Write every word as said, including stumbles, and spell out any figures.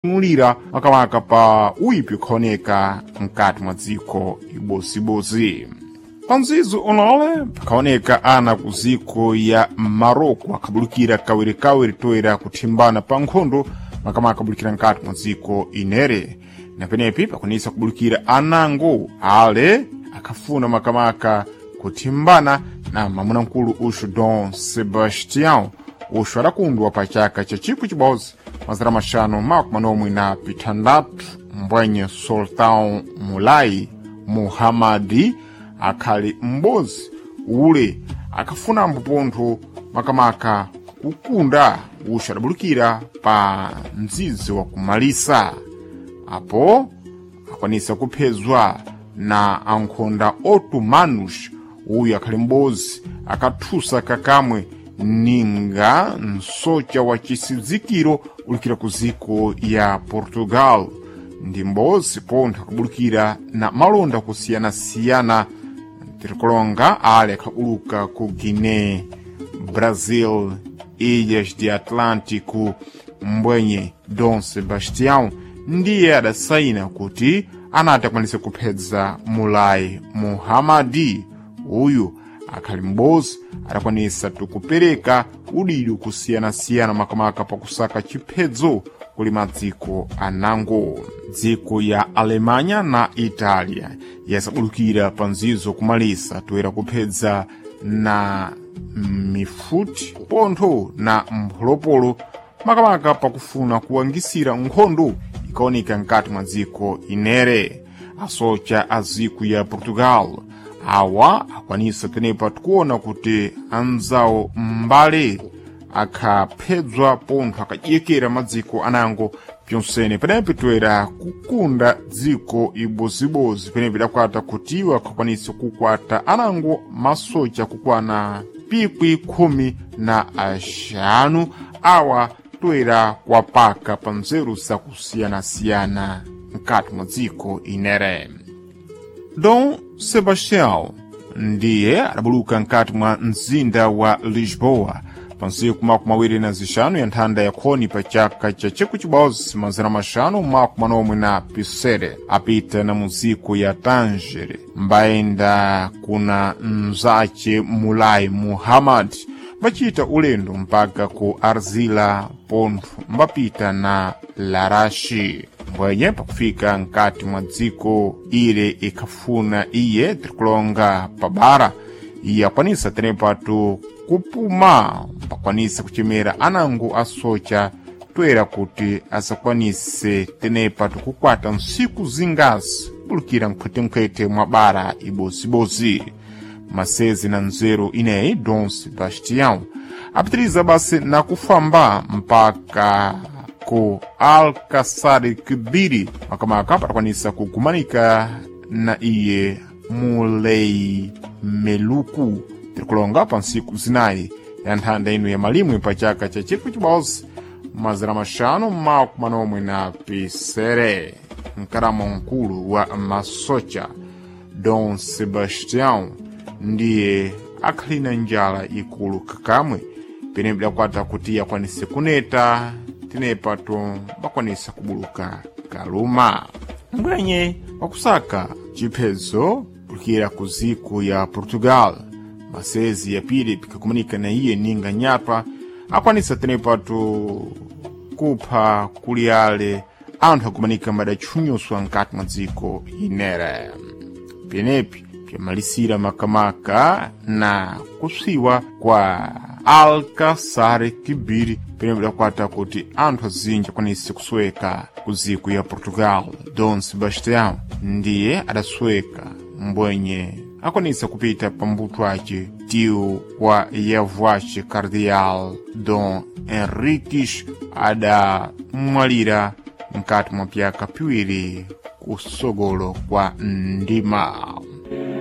Mulira makamaka pa uyipi ukhaoneka mkati mwa dziko ibozibodzi. Pa mzizo unole pakhaoneka ana ku ziko ya Maroko akhabulukira kawirikawiri toera kuthimbana pa nkhondo makamaka abulukira mkati mwa dziko inere na penepi pakwanisa kubulukira anango ale akhafuna makamaka kuthimbana na mamunamkulu uxu Dom Sebastião uxu adakundwa pa chaka cha chikwi chibodzi mazana maxanu makumi manomwe na pithandatu mbwenye Sultão Mulai Muhammadi akhali m'bodzi ule akhafunambo pontho makamaka kukunda uxu adabulukira pa mdzidzi wa kumalisa apo akwanisa kuphezwa na ankhonda otomanos uyu akhali m'bodzi akathusa kakamwe ninga msocha wa chisidzikiro ulukira ku ziko ya Portugal ndi m'bodzi pontho akabulukira na malonda kusiyanasiyana tirikulonga ale akhabuluka ku Guiné Brasil Ilhas de Atlântico mbwenye Dom Sebastião ndiye adasaina kuti anati akwanise kuphedza Mulai Muhammadi uyu akhali m'bodzi adakwanisa tikupereka udidi kusiyanasiyana makamaka pakusaka chiphedzo kuli madziko anango dziko ya Alemanha na Itália yasabulukira pa nzizo kumalisa toera kuphedza na mifuti pontho na mpholopolo makamaka pakufuna kuwangisira nkhondo ikaoneka mkati mwa dziko inere asocha a dziko ya Portugal awa akwanisa tenepa tikuona kuti anzawo mbale akhaphedzwa pontho akadyekera madziko anango pyonsene penepi toera kukunda dziko ibozibodzi penepi idakwata kuti iwo akhakwanisa kukwata anango masocha kukwana pikwi khumi na axanu awa toera kuwapaka pa nzeru zakusiyanasiyana mkati mwa dziko inere Dom Sebastião ndiye adabuluka mkati mwa mzinda wa Lisboa pa ntsiku makumi awiri na zixanu ya nthanda ya khoni pa chaka cha chikwi chibodzi mazana maxanu makumi manomwe na pisere apita na muziko ya Tanger mbayenda kuna mzace Mulai Muhammad mbacita ulendo mpaka ku Arzila pontho mbapita na Larashi mbwenye pakufika mkati mwa dziko ile ikhafuna iye tirikulonga pabara iye akwanisa tenepatu kupuma pakwanisa kuchemera anango asocha toera kuti asakwanise tenepatu kukwata ntsiku zingazi kubulukira mkhwetenkhwete mwa bara ibozibodzi masezi na nzeru ineyi Dom Sebastião apitiriza basi na kufamba mpaka ku Alcazar Kibiri makamaka patakwanisa kugumanika na iye Mulei Meluku tirikulonga pa ntsiku zinayi ya nthanda ino ya malimwe pa chaka cha chikwi chibodzi mazana maxanu makumi manomwe na pisere mkalamo mkulu wa masocha Dom Sebastião ndiye akhali na njala ikulu kakamwe pene bidakwata kuti akwanise kuneta tenepato bakwanisa kubuluka kaluma mbwenye wakusaka chiphedzo kulukira ku ziko ya Portugal masezi yapiri pikakumanika na iye ninga nyapa akwanisa tenepato kupha kuli ale anthu akumanika madatchunyuswa mkati mwa dziko inere penepi pyamalisira makamaka na kuswiwa kwa Alcazar Kibiri pene bidakwata kuti anthu azinji akwanise kusweka ku ziko ya Portugal Dom Sebastião ndiye adasweka mbwenye akwanisa kupita pa mbuto ace tio wa yavu ace Cardeal Dom Henriques adamwalira mkati mwa pyaka piwiri kusogolo kwa ndima.